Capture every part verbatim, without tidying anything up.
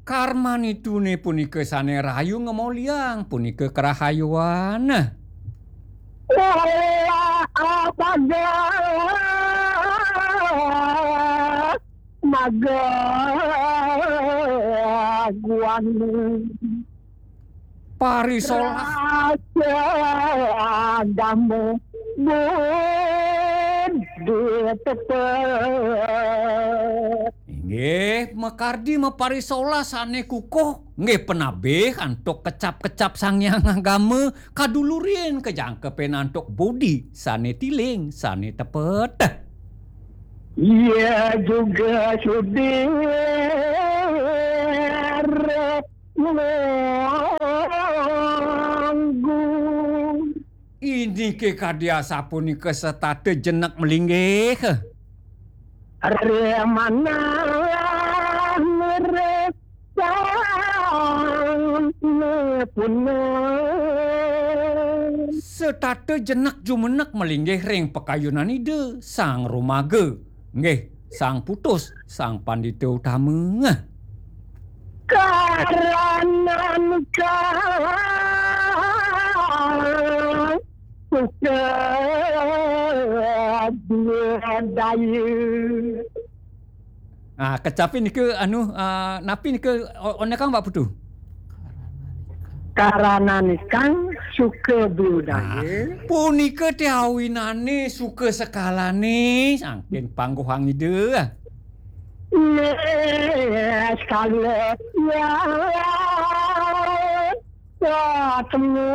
Karmanituné punika sané rahayu ngamoliang, punika karahayuan. Olah apaga magaguan. Parisolah. Rasa agama budi tepet. Inggih, makardi maparisolah sané kukuh, nggih penabih antuk kecap-kecap Sang Hyang Agama, kadulurin kajangkepin antuk budi sané tiling, sané tepet. Ia juga sudir nganggu. Inggih kadi asapunika setata jenek malinggih. Remanah ngeresang nepuna. Setata jenek jumenek malinggih ring pakayunan Ida Sang Rumaga. Nggih, Sang Putus, Sang Pandita Utama. Karanan kang suka daya. Ah, kecapi nika anu, ah, napi nika o-, onekang Pak Putu? Karananikang suka budaya. Ah, punika té awinane suka sekalane saking pangguhang Ida. Nggih, sekala ya ketemu.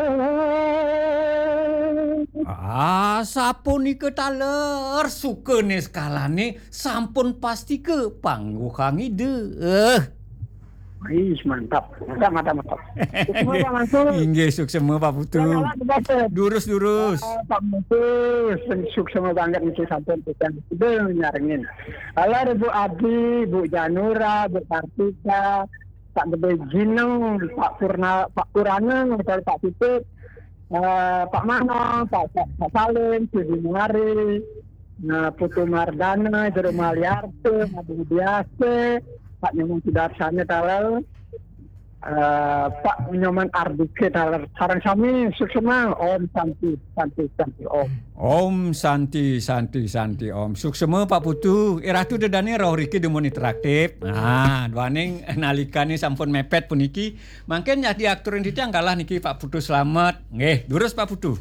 Ah, sapunika taler suka neskalane sampun pastika pangguhang Ida. Eh. Ih, mantap. Mantap, mantap, mantap. Suksma, Pak Mansur. Inggih, suksma, Pak Putu. Selamat, Pak Mansur. Durus, durus. Ah, Pak Mansur, suksma banget niki sampun pisan. Udah nyarengin. Halo, Bu Adi, Bu Janura, Bu Kartika, Pak Gede Jineng, Pak Purna, Pak Purana, Pak Titip, eh, Pak Mano, Pak, Pak, Pak Salim, Sudi Muari, eh, Putu Mardana, Jero Maliarte, Pak Budi Biasa, Pak Nyoman Sudarsana taler, eh, Pak Nyoman Ardike taler. Sareng sami suksma, Om Santi, Santi, Santi, Om. Om Santi, Santi, Santi, Om. Suksma, Pak Putu. Eh, Ratu Dedane rauh riki dumun interaktif. Nah, duaning nalikane sampun mepet puniki, mangkin nyah diaturin titiang galah niki Pak Putu Slamet. Nggih, durus Pak Putu.